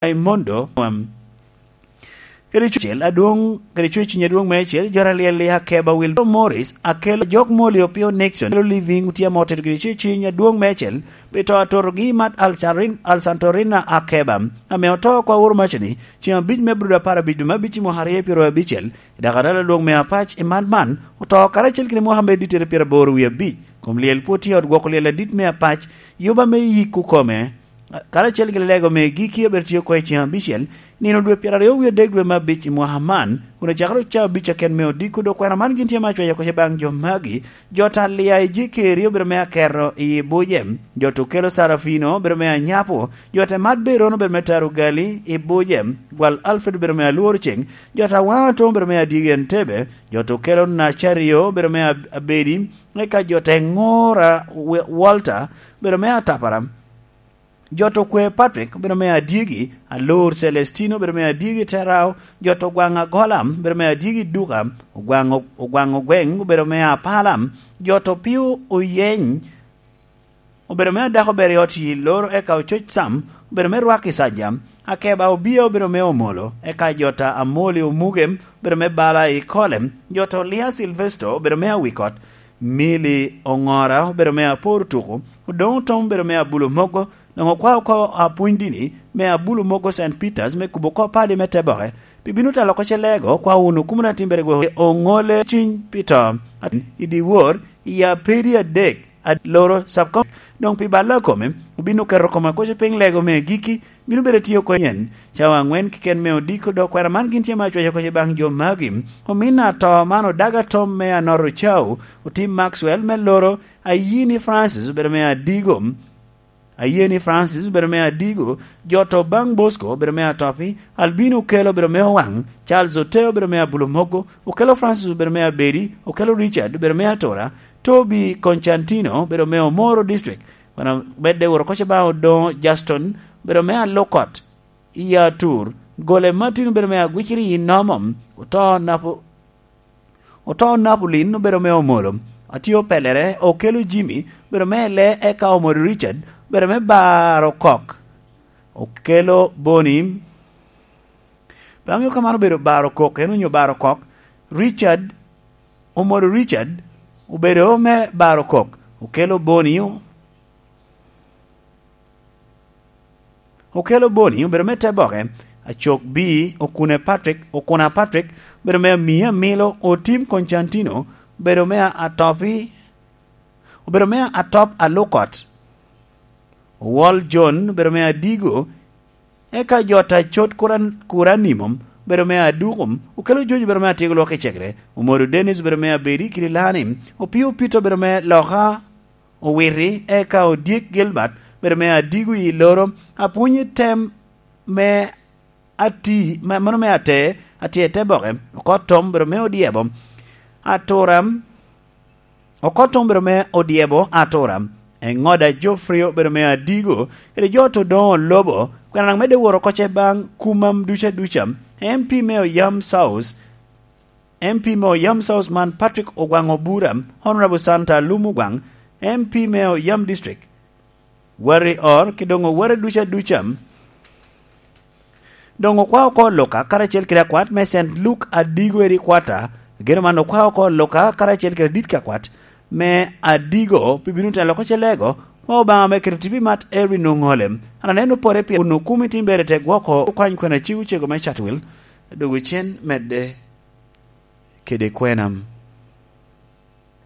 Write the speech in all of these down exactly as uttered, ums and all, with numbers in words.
Raimondo, um, kede Cucel adwoŋ, kede Cucel adwoŋ meicel, jo aryel i Akeba, Wilbur Morris, Akello, Jok Molly, Opio Nixon, Akello Living, Otyeno Otit, kede Cucel adwoŋ meicel, pi to atotogi Mat Alsarin-, Alsantorina Akeba, ame oto kwa woro macani, ceŋ abic me Abril apar abic, dwe me abic i mwaka aryo pyeraryo abicel, i dakiral adwoŋ me Apac, i man man, oto karacel kede Muhammad Diter pyeraboro wie abic, kom lyel pwod tye i ot gwoko lyel adit me Apac, yuba me yik okome, karacel kede lego me giki obedo tye oko i ceŋ abicel, nino dwe pyeraryo wie adek dwe me abic i mwaka man, kun ocakere ocawa abic aken me odiko, dok kwena man gin tye me acweco oko baŋ jo magi, jo ta Lia i Jekeri obedo me aketo i Bujem, jo ta Okelo Sarafino obedo me anyapo, jo ta Mat Beron obedo me taro gali i Bujem, gwal Alfred obedo me alworo ceŋ, jo ta Waŋ Atom obedo me adyegi Entebbe, jo ta Okelo Nacario obedo me ab-, abedi, eka jo ta Ŋora We-, Walter obedo me atapara. Jo ta Okwe Patrick obedo me adyegi, Alor Celestino obedo me adyegi Terao, jo ta Ogwaŋ Agolam obedo me adyegi Duka, Ogwaŋ, Ogwaŋ Ogweŋ obedo me Apalam, jo ta Opio Oyeny obedo me adako ber i ot i Loro, eka Ococ Sam obedo me rwak i Saja, Akeba Obia obedo me Omolo, eka jo ta Amoli Omuge obedo me bala i Kole, jo ta Olia Silvesto obedo me Awikot, Mili Oŋora obedo me Apor Tuku, Odoŋ Otom obedo me Abulo Mogo, Doŋ okwa oko apwony dini me Abulo Mogo Saint Peters me kubo oko padi me Teboke, pi bino talo oko ce lego kwa wunu kumuna timbere gwo oŋole ciny pi to. I dyewor, i apedi adek, ad-, loro subcom-, doŋ pi balla kome, obino keto kome koco piny lego me giki, bino bedo tiyo oko yen. Cawa aŋwen keken me odiko, dok kwena man gin tye me acweco koco baŋ jo magi. Omin ato man odaga tom me Anoro Cau, Otim Maxwell me Loro, Ayini Francis obedo me Adigo. Aye ni Francis obedo me Adigo, jo to baŋ Bosco obedo me Atopi, Albino Okelo obedo me Owaŋ, Charles Ote obedo me Abulo Mogo, Okelo Francis obedo me Abedi, Okelo Richard obedo me Atora, Toby Constantino obedo me Omoro District, wana medde woro koce baŋ Odoŋo Justin obedo me Alokot, i Atur, Gole Martin obedo me Agwiciri i Nomo, oto Napo-, Oto Napolin obedo me Omolo, Atio Pelere, Okelo Jimmy obedo me Ele, eka Omoro Richard obedo me Baro Kok, Okelo Boni, pe aŋeo ka man obedo Baro Kok, en onyo Baro Kok, Richard, Omoro Richard obedo me Baro Kok, Okelo Boni, Okelo Boni obedo me Teboke, Acok Bii, Okune Patrick, Okuna Patrick obedo me Amia Amilo, Otim Constantino obedo me Atopi, obedo me Atop Alukot, Owol John obedo me Adigo, eka jo ta Cot Kuran-, Kuranimo obedo me Adukum, Okelo Jojo obedo me Atyego Lwok i Cegre, Omodo Dennis obedo me Abedi Kirilani, Opio Peter obedo me Loka, Owiti, eka Odyek Gilbert, bedo me Adigo i Loro, apwony i tem me Ati, me, mano me Ate, Ate Teboke, Okot Tom, bedo me Odyebo, Atura, Okot Tom, bedo me Odyebo, Atura, Eŋoda Geoffrey, bedo me Adigo, kede jo to doŋo lobo, kwena medde woro koce baŋ kumam duca duca, M P me Oyam South, M P me Oyam South man Patrick Ogwaŋ Obura, Honorable Santa Alum Ogwaŋ, M P me Oyam District, Warri Or, ki doŋ Warri duca duca. Doŋ okwa oko Luka, karacel kede akwat me Saint Luke Adigo edi kwata, gero man okwa oko Luka, karacel kede dit ka kwat me Adigo, pi bino telo oko ce lego, kwa Obaŋa me keto tipi mat Erwin Oŋole. An aneno pore pien kun okumi tim bere te gwoko okwany kwena cik ocego me Chatwil, adogo cen medde kede kwenam.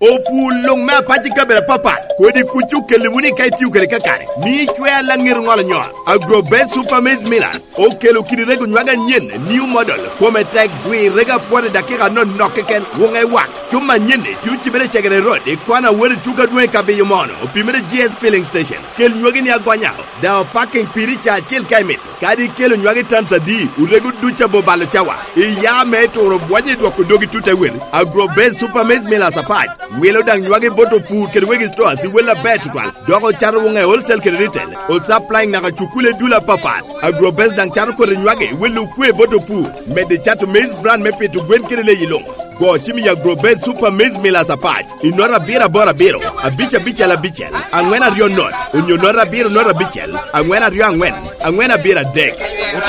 Opur luŋ me apac i kabedo apapat, kodi kuc okelli wunu i ka itio kede kakare, mi icwer laŋet oŋolo nyol. Agro Best Super Maize Millers okelo kidi rego nywage anyen, new model, kome tek, gwir rego apwot i dakika anonok keken, wuŋe wak. Cuma anyen-ni tye ocibere i Cegere Road, i kona wot i tuko adwoŋ i Kabiyo Mono, opimere G S Filling Station. Kel nywagi ni agonya, daŋ opaking piri ca acel ka imito. Kadi ikelo nywagi tans adi, orego duc abobalo cawa. Iya me turo bwonye i dwoko dogi tut te wel. Agro Best Super Maize Millers apac. Wilo daŋ nywagi bot opur kede wegi stores i wel aber tutwal. Dok ocato wuŋe wholesale kede retail. O supplying naka cukule dul apapat. Agro Best daŋ cato kodi nywagi welo okwe bot opur. Medde cato maize bran me pito gwen kede leyi luŋ. Go cim i Agro Base Super Maize Millers Apac i nota abiro aboro abiro, abic abicel abicel, aŋwen aryo not, onyo nota abiro not abicel, aŋwen aryo aŋwen, aŋwen abiro adek. Ote